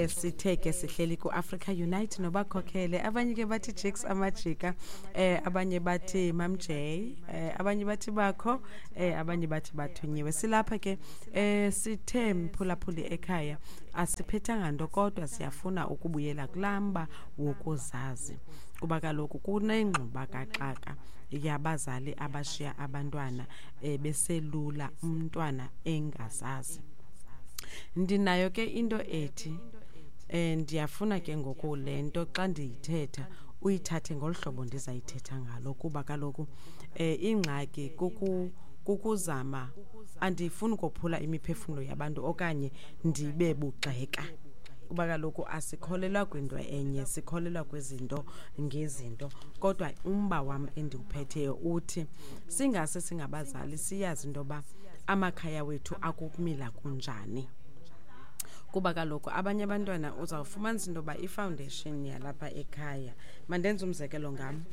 Sithe ke sihleli ku-Africa Unite nobakhokhele. Abanye ke bathi Jakes Amajika, abanye bathi Mam J, abanye bathi bakho, abanye bathi bathunyiwe. Silapha ke, sithe mphulaphuli ekhaya asiphethanga nto, kodwa siyafuna ukubuyela kulaa mba wokuzazi, kuba kaloku kunengxuba kaxaka yabazali abashiya abantwana beselula, umntwana engazazi. Ndinayo ke into ethi ndiyafuna ke ngoku le nto xa ndiyithetha uyithathe ngolu hlobo ndizayithetha ngalo, kuba kaloku ingxaki kukuzama, andifuni ukophula imiphefumlo yabantu okanye ndibe bugxeka, kuba kaloku asikholelwa kwinto enye, sikholelwa kwizinto ngezinto. Kodwa umba wam endiwuphetheyo uthi singase singabazali siyazi into yoba amakhaya wethu akukumila kunjani, kuba kaloku abanye abantwana uzawufumanisa into yoba ifoundation yalapha ekhaya. Mandenze umzekelo ngam.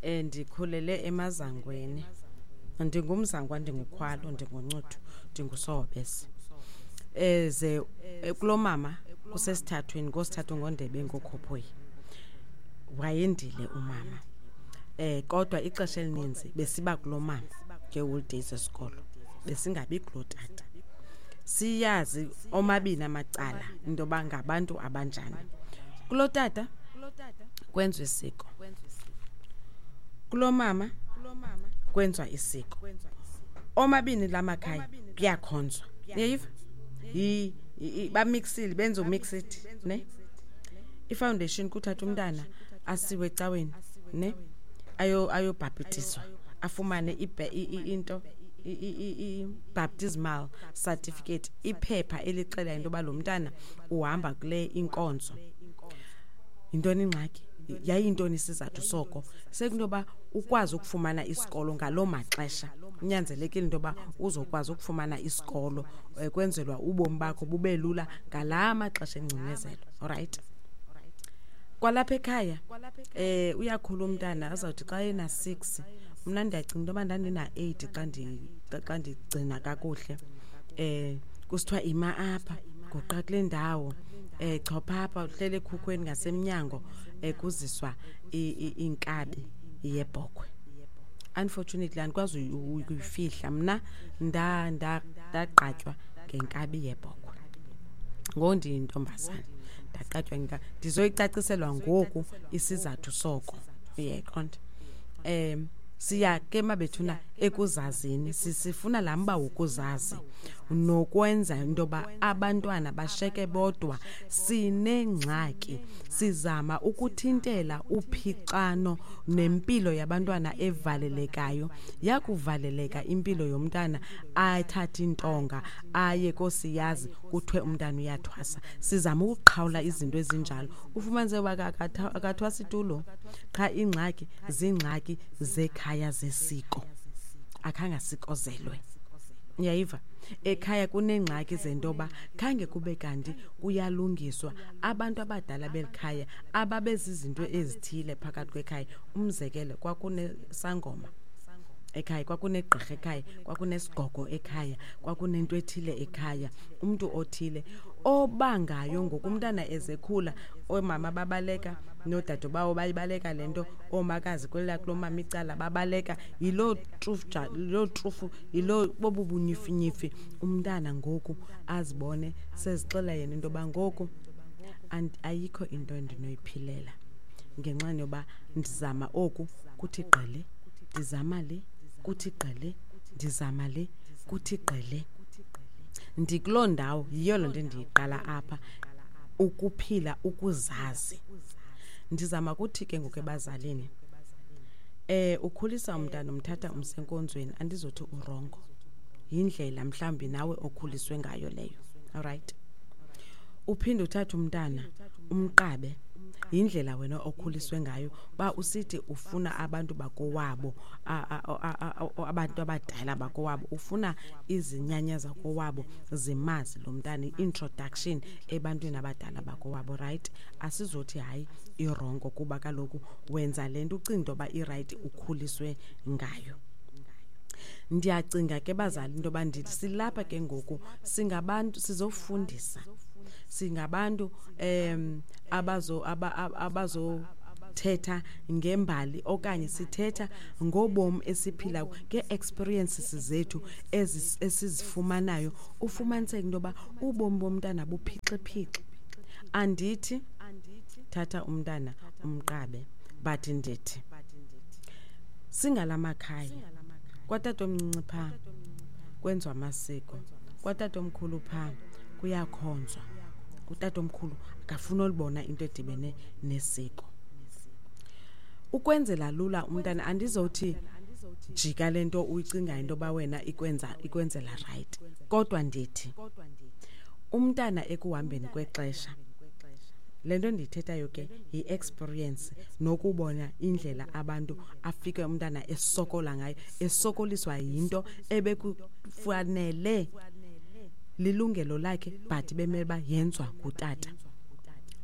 Ndikhulele emazangweni, ndingumzangwa, ndingukhwalo, ndinguncuthu, ndingusohobese. Ze kulo mama kusesithathweni, ngosithathu, ngondebe, ngokhophoyi, wayendile umama, kodwa ixesha elininzi besiba kulo mama ngeeholidays zesikolo, besingabi kulo tata. Siyazi omabini amacala into yoba ngabantu abanjani. Kulo tata kwenziwa isiko, kulo mama kwenziwa isiko, omabini la makhaya kuyakhonzwa. Uyayiva? Bamixile, benza umixit ne ifoundation, kuthatha umntana asiwe ecaweni ne ayobhaptizwa, afumane into i-baptismal certificate, iphepha elixela into yoba lo mntana uhamba kule inkonzo. Yintoni ingxaki? Yayintoni isizathu soko? Sekunto yoba ukwazi ukufumana isikolo ngaloo maxesha, kunyanzelekile into yoba uzokwazi ukufumana isikolo, kwenzelwa ubomi bakho bube lula ngalaa maxesha engcinezelo. Alright, kwalapha ekhaya uyakhula umntana, azawuthi xa ena-6, mna ndiyacinga into yoba ndandina-8 xa ndigcina kakuhle, kusithiwa ima apha, guqa kule ndawo, chopha apha, uhlele ekhukhweni ngasemnyango, kuziswa inkabi yebhokhwe. Unfortunately andikwazi ukuyifihla, mna ndaqatywa ngenkabi yebhokhwe ngoku ndiyintombazana, ndaqatywa. Ndizoyicaciselwa ngoku isizathu soko, uyayiqonda. Siya ke mabethuna ekuzazini, sifuna laa mba wokuzazi nokwenza into yoba abantwana basheke bodwa. Sinengxaki, sizama ukuthintela uphixano nempilo yabantwana evalelekayo. Yakuvaleleka impilo yomntana, athathe intonga aye kosiyazi, kuthiwe umntana uyathwasa. Sizama ukuqhawula izinto ezinjalo. Ufumanise uba akathwasi tulo, qha ingxaki ziingxaki zekhaya zesiko, akhange asikozelwe. Uyayiva? Ekhaya kuneengxaki zentoba khange kube kanti kuyalungiswa. Abantu abadala beli khaya ababezizinto ezithile phakathi kwekhaya, umzekelo kwakunesangoma ekhaya, kwakunegqirha ekhaya, kwakunesigogo ekhaya, kwakunento ethile ekhaya, umntu othile obangayo. Ngoku umntana ezekhula, oomama babaleka noodadobawo, bayibaleka le nto, oomakazi kwelaa kulo mama icala babaleka, yiloo trufu, yiloo trufu, yiloo bobu bunyifinyifi. Umntana ngoku azibone sezixela yena into yoba ngoku ayikho into endinoyiphilela, ngenxa yoba ndizama oku kuthi gqele, ndizama le kuthi gqele, ndizama le kuthi gqele, ndikuloo ndawo. Yiyo loo nto endiyiqala apha, ukuphila ukuzazi. Ndizama kuthi ke ngoku ebazalini, ukhulisa umntana, umthatha umsenkonzweni, andizothi urongo, yindlela mhlawumbi nawe okhuliswe ngayo leyo, alright. Uphinde uthathe umntana umqabe, yindlela wena okhuliswe ngayo, ba usithi ufuna abantu bakowabo, abantu abadala bakowabo, ufuna izinyanya zakowabo zimazi lo mntana, i-introduction ebantwini abadala bakowabo, right. Asizothi hayi irongo, kuba kaloku wenza le nto ucinga into yoba irayithi, ukhuliswe ngayo. Ndiyacinga ke bazali into yoba ndithi silapha ke ngoku singabantu sizofundisa. Singabantu abazothetha ngembali okanye sithetha ngobomi esiphila ngee-experiences zethu esizifumanayo. Ufumaniseke into yoba ubomi bomntana buphixiphixe. Andithi thatha umntana umqabe, but ndithi singalamakhaya kwatatomncinci phaa kwenziwa amasiko, kwatatomkhulu phaa kuyakhonzwa. Utatomkhulu akafuni olibona into edibene nesiko. Ukwenzela lula umntana, andizothi jika le nto uyicingayo into yoba wena ikwenzela right, kodwa ndithi umntana ekuhambeni kwexesha, le nto ndiyithethayo ke yi-experience nokubona indlela abantu afike umntana esokola ngayo, esokoliswa yinto ebekufanele lilungelo lakhe, but bemele uba yenzwa ngutata.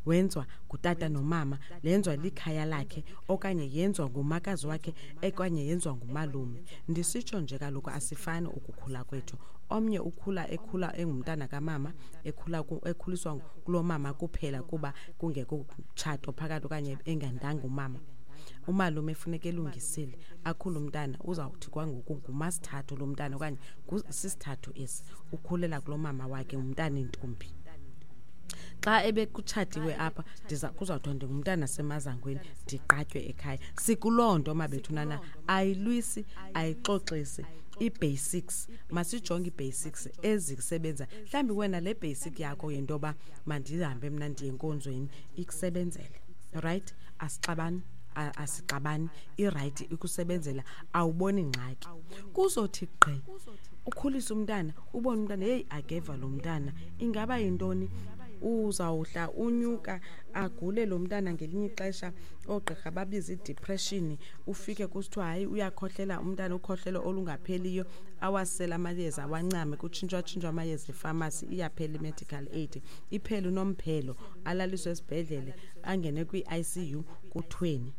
Wenzwa ngutata nomama, lenzwa likhaya lakhe okanye yenzwa ngumakazi wakhe okanye yenzwa ngumalume. Ndisitsho nje kaloku asifani ukukhula kwethu. Omnye ukhula ekhula engumntana kamama, ekhuliswa kuloo mama kuphela kuba kungekho mtshato phakathi okanye engandanga umama. Umalume funeka elungisile, akhule umntana, uzawuthi kwangoku ngumasithathu lo mntana okanye sisithathu esi, ukhulela kulo mama wakhe, ngumntana intombi. Xa ebekutshatiwe apha, kuzawuthiwa ndingumntana semazangweni, ndiqatywe ekhaya. Sikuloo nto mabethunana, ayilwisi, ayixoxisi. Ii-basics, masijonge ii-basics ezisebenza. Mhlawumbi wena le basic yakho yinto yoba mandihambe mna ndiye enkonzweni ikusebenzele, right? Asixabani, asixabani, irayithi ikusebenzela, awuboni ngxaki. Kuzothi gqi ukhulise umntana, ubone umntana, heyi akeva lo mntana, ingaba yintoni? Uzawuhla unyuka agule lo mntana ngelinye ixesha, oogqirha babize idepression, ufike kusithiwa hayi uyakhohlela umntana, ukhohlelo olungapheliyo, awasele amayeza awancame, kutshintshwatshintshwa amayeza efamasi, iyaphela i-medical aid, iphele unomphelo, alaliswe esibhedlele, angene kwi-ICU, kuthweni.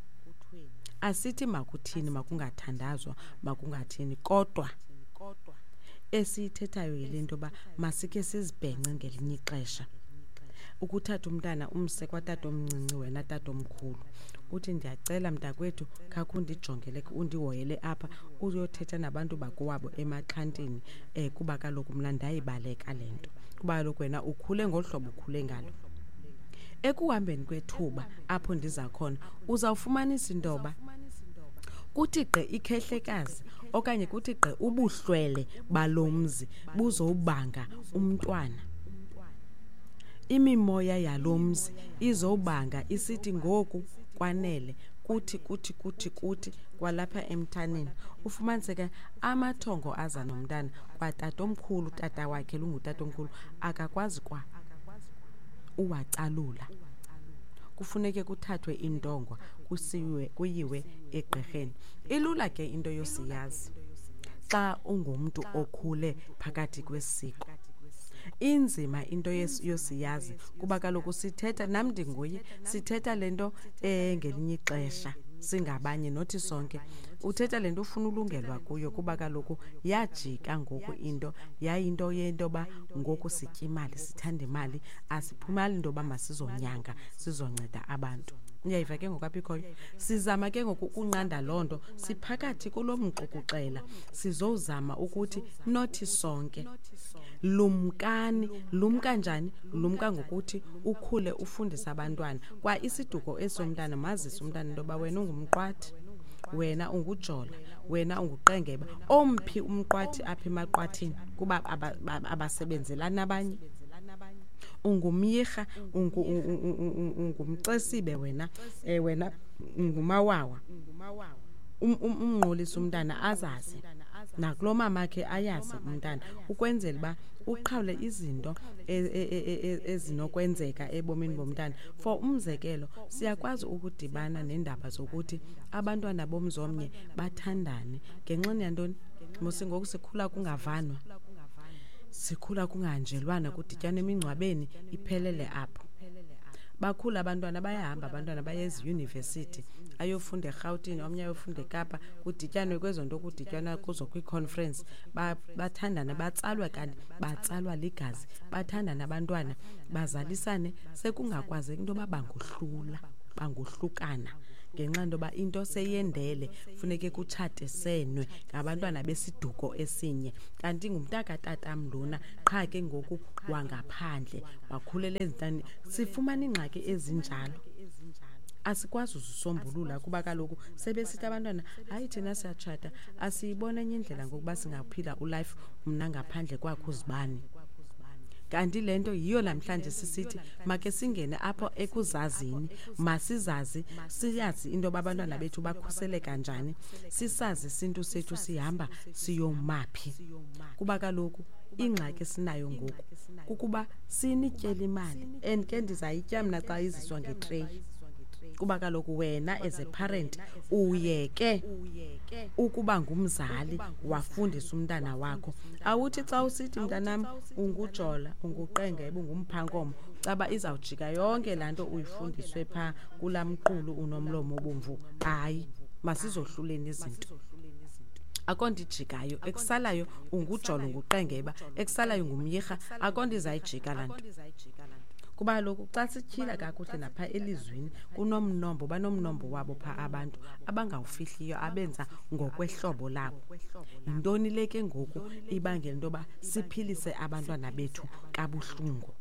Asithi makuthini, makungathandazwa, makungathini, kodwa esiyithethayo yile nto yoba masikhe sizibhence ngelinye ixesha. Ukuthatha umntana umse kwatatomncinci, wena tatomkhulu, uthi ndiyacela mntakwethu khakhe undijongele, undihoyele apha, uyothetha nabantu bakowabo emaxhantini, kuba kaloku mna ndayibaleka le nto, kuba kaloku wena ukhule ngolu hlobo ukhule ngalo. Ekuhambeni kwethuba apho ndiza khona, uzawufumanisa into yoba kuthi gqi ikhehlekazi okanye kuthi gqi ubuhlwele balo mzi buzobanga umntwana. Imimoya yalo mzi izobanga isithi ngoku kwanele, kuthi, kuthi, kuthi, kuthi kwalapha emthaneni. Ufumaniseke amathongo aza nomntana kwatatomkhulu, tata wakhe lungutatomkhulu, akakwazi kwa uwacalula. Kufuneke kuthathwe intongwa kuyiwe egqirheni. Ilula ke into yosiyazi xa ungumntu okhule phakathi kwesiko. Inzima into yosiyazi kuba kaloku sithetha, nam ndinguye, sithetha le nto ngelinye ixesha singabanye, nothi sonke. Uthetha le nto ufuna ulungelwa kuyo kuba kaloku yajika ngoku into, yayinto yento yoba ngoku sitya imali, sithanda imali, asiphumali into yoba masizonyanga, sizonceda abantu. Uyayiva ke ngoku apha ikhoyo? Sizama ke ngoku ukunqanda loo nto, siphakathi kulo mxukuxela, sizozama ukuthi nothi sonke. Lumkani, lumka njani? Lumka ngokuthi ukhule ufundise abantwana. Kwa isiduko esomntana, mazise umntana into yoba wena ungumqwathi, wena ungujola, wena unguqengeba. Omphi umqwathi apha emaqwathini kuba abasebenzelani abanye? Ungumyirha, ungumxesibe wena, wena ungumawawa. Umnqolise umntana azazi, nakulo mama akhe ayazi umntana, ukwenzela uba uqhawule izinto ezinokwenzeka ebomini bomntana. For umzekelo, siyakwazi ukudibana neendaba zokuthi abantwana bomzi omnye bathandane ngenxa yantoni? Mos ngoku sikhula kungavanwa, sikhula kungahanjelwana, kudityanwa emingcwabeni, iphelele apho. Bakhula abantwana, bayahamba abantwana baye eziyunivesithi, ayofunda eRhawutini, omnye ayofunda eKapa, kudityanwe kwezo nto kudityanwa kuzo kwiiconference, bathandane, batsalwe kanti batsalwa ligazi, bathandane abantwana, bazalisane, sekungakwazeki into yoba bangohlula, bangohlukana ngenxa into yoba into seyendele, funeke kutshatesenwe ngabantwana besiduko esinye. Kanti ngumntakatatam lona, qha ke ngoku wangaphandle, wakhulela ezintani. Sifumana iingxaki ezinjalo, asikwazi uzisombulula kuba kaloku sebesithi abantwana, hayi thina siyatshata, asiyibona enye indlela ngokuba singaphila ulife mna ngaphandle kwakho uzibani. Kanti le nto yiyo namhlanje sisithi make singene apho ekuzazini, masizazi, siyazi into yoba abantwana bethu bakhuseleka njani, sisazi isintu sethu sihamba siyomaphi. Kuba kaloku ingxaki esinayo ngoku kukuba sinityele imali, and ke ndizayitya mna xa iziswa ngetreyi. Kuba kaloku wena as a parent uyeke ukuba ngumzali, wafundisa umntana wakho. Awuthi xa usithi mntanam ungujola, unguqengebe, ungumphankomo, caba izawujika yonke laa nto uyifundiswe phaa kulaa mqulu unomlomo obomvu. Hayi, masizohluleni izinto. Akho nto ijikayo, ekusalayo ungujola, unguqengeba, ekusalayo ngumyirha, akho nto izayijika laa nto. Kuba kaloku xa sityhila kakuhle napha elizwini kunomnombo, banomnombo wabo phaa abantu abangawufihliyo, abenza ngokwehlobo labo. Yintoni le ke ngoku ibangela into yoba siphilise abantwana bethu kabuhlungu?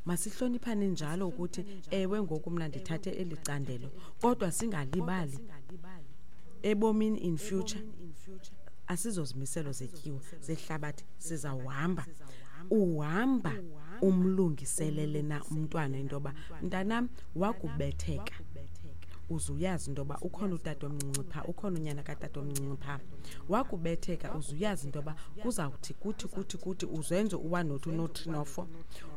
Masihloniphane njalo ukuthi ewe ngoku mna ndithathe eli candelo, kodwa singalibali ebomini in future asizozimiselo zetyiwa zehlabathi, sizawuhamba. Uhamba umlungiselele na umntwana into yoba mntanam wakubetheka, uze uyazi into yoba ukhona utata omncinci phaa, ukhona unyana katata omncinci phaa. Wakubetheka uze uyazi into yoba kuzawuthi kuthi kuthi kuthi, uzenze u-one no-two no-three no-four.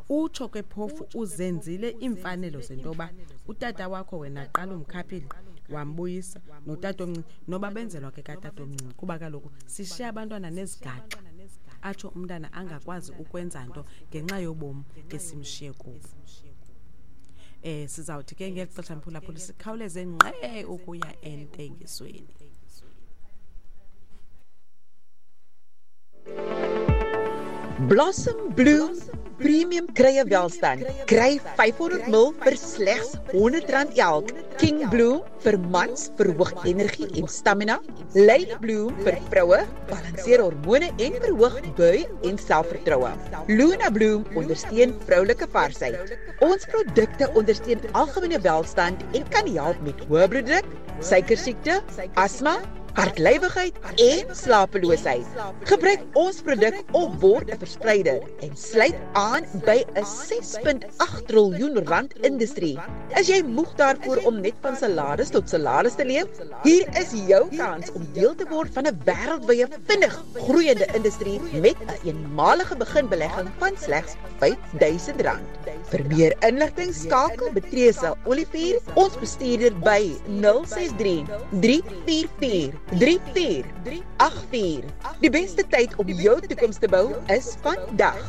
Utsho ke phofu uzenzile iimfanelo zento yoba utata wakho wena qala umkhaphile wambuyisa notata omncinci, noba benzelwa ke katata omncinci, kuba kaloku sishiya abantwana nezigaxa, atsho umntana angakwazi ukwenza nto ngenxa yobomi esimshiye kubo. Sizawuthi ke ngeli xesha mphulaphuli sikhawuleze ngqe ukuya entengisweni. Blossom Bloom Premium Kruie Welstand. Kry 500 ml vir slegs R100 elk. King Bloom vir mans verhoog energie en stamina. Lady Bloom vir vroue balanseer hormone en verhoog bui en selfvertroue. Luna Bloom ondersteun vroulike varsheid. Ons produkte ondersteun algemene welstand en kan help met hoë bloeddruk, suikersiekte, asma, hartlywigheid en slapeloosheid. Gebruik ons produk of word 'n verspreider en sluit aan by 'n 6.8 triljoen rand industrie. Is jy moeg daarvoor om net van salaris tot salaris te leef? Hier is jou kans om deel te word van 'n wêreldwye vinnig groeiende industrie met 'n eenmalige beginbelegging van slegs R5,000. Vir meer inligting skakel Betresa Olivier, ons bestuurder, by 063 344 3484. Die beste tyd om jou toekoms te bou is vandag.